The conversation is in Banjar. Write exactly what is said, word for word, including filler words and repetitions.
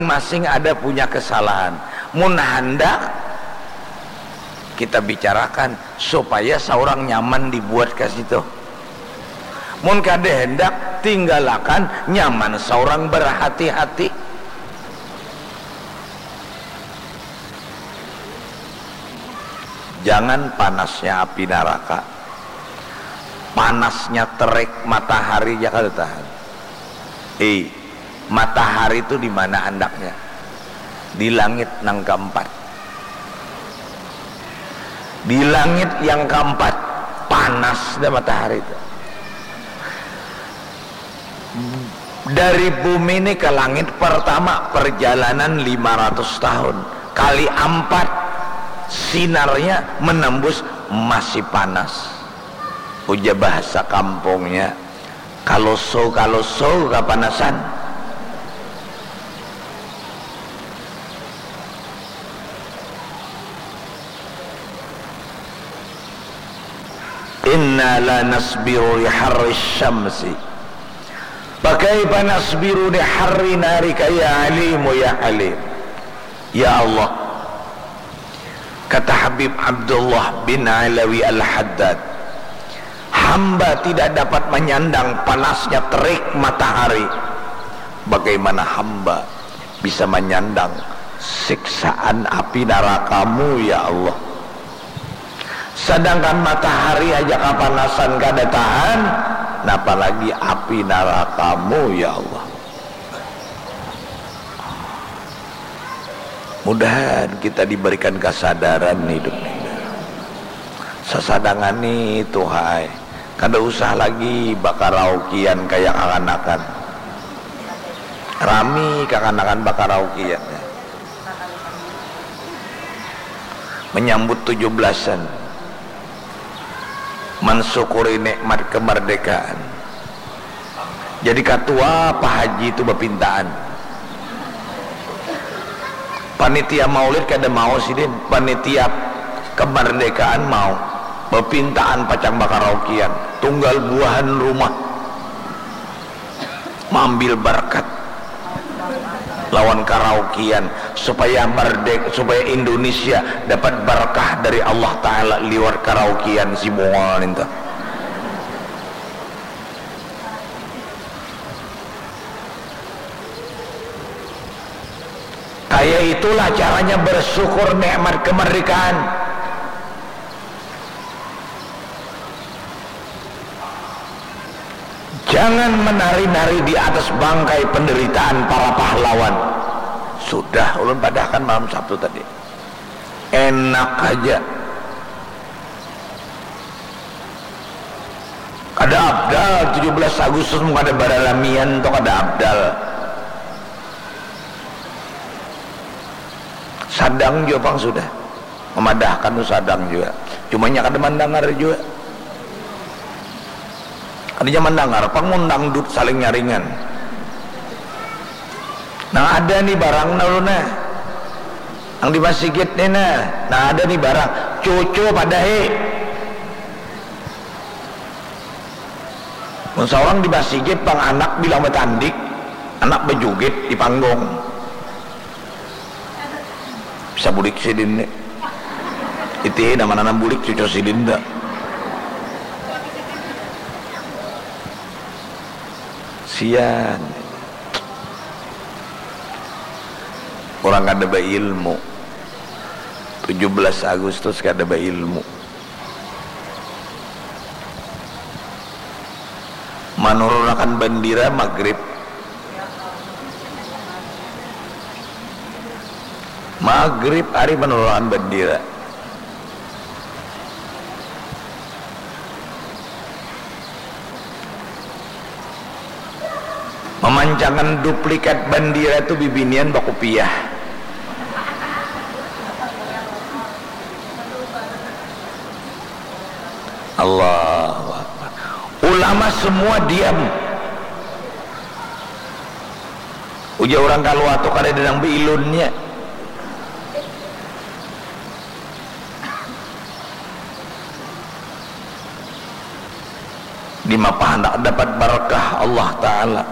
masing ada punya kesalahan. Mun handak kita bicarakan supaya seorang nyaman dibuat ke situ. Mun kada hendak, tinggalakan, nyaman seorang berhati-hati. Jangan panasnya api neraka, panasnya terik matahari ja kada tahan. Hei, matahari tu di mana andaknya? Di langit nang keempat. Di langit yang keempat, panas dah matahari tu. Dari bumi ni ke langit pertama perjalanan lima ratus tahun. Kali ampat, sinarnya menembus, masih panas. Ujar bahasa kampungnya, kaloso-kaloso kapanasan. Inna la nasbiru li harri syamsi. Pakaifa nasbiru li harri narika ya alimu ya alim. Ya Allah, kata Habib Abdullah bin Alawi Al-Haddad, hamba tidak dapat menyandang panasnya terik matahari. Bagaimana hamba bisa menyandang siksaan api nerakamu, ya Allah? Sedangkan matahari aja kapanasan kada tahan, napa lagi api nerakamu, ya Allah. Mudahan kita diberikan kesadaran hidup ini. Sasadangan ni tuh hai, kada usah lagi bakaraokian kayak kakanakan. Rami kakanakan bakaraokian. Menyambut tujuh belasan, mensyukuri nikmat kemerdekaan. Jadi katua Pak Haji itu bepintaan. Panitia maulid kada mau sidin, panitia kemerdekaan mau. Bepintaan pacang bakaraokian, tunggal buahan rumah. Maambil barakat lawan karaokian supaya merdek, supaya Indonesia dapat barakah dari Allah Ta'ala liwat karaokian si Bungol nintu. Kaya itulah caranya bersyukur nikmat kemerdekaan. Jangan menari-nari di atas bangkai penderitaan para pahlawan. Sudah ulun padahkan malam Sabtu tadi. Enak aja. Kada abdal tujuh belas Agustus mun kada baralamian tu kada abdal. Sadang jua pang sudah. Memadahkan tu sadang jua. Cuma nya kada mandangar jua. Kada nya mandangar pang mun dangdut saling nyaringan. Nang ada ni barang nah ulun nah. Nang di masigit ni nah. Nang ada ni barang. Cucu padahi. Mun saurang di masigit pang anak bilang batandik, anak bajugit di panggung. Bisa bulik sidin ni. Itihi nama nanam bulik cucu sidin tu. Sian. Urang kada bailmu. Tujuh belas Agustus kada bailmu. Manurunakan bandira magrib. Magrib hari manurunakan bandira. Mamancangan duplikat bandira tu bibinian bakupiah. Allahu Akbar. Ulama semua diam. Ujar urang kaluar tu kada ada nang bailunnya. Dimapa handak dapat barakah Allah Ta'ala.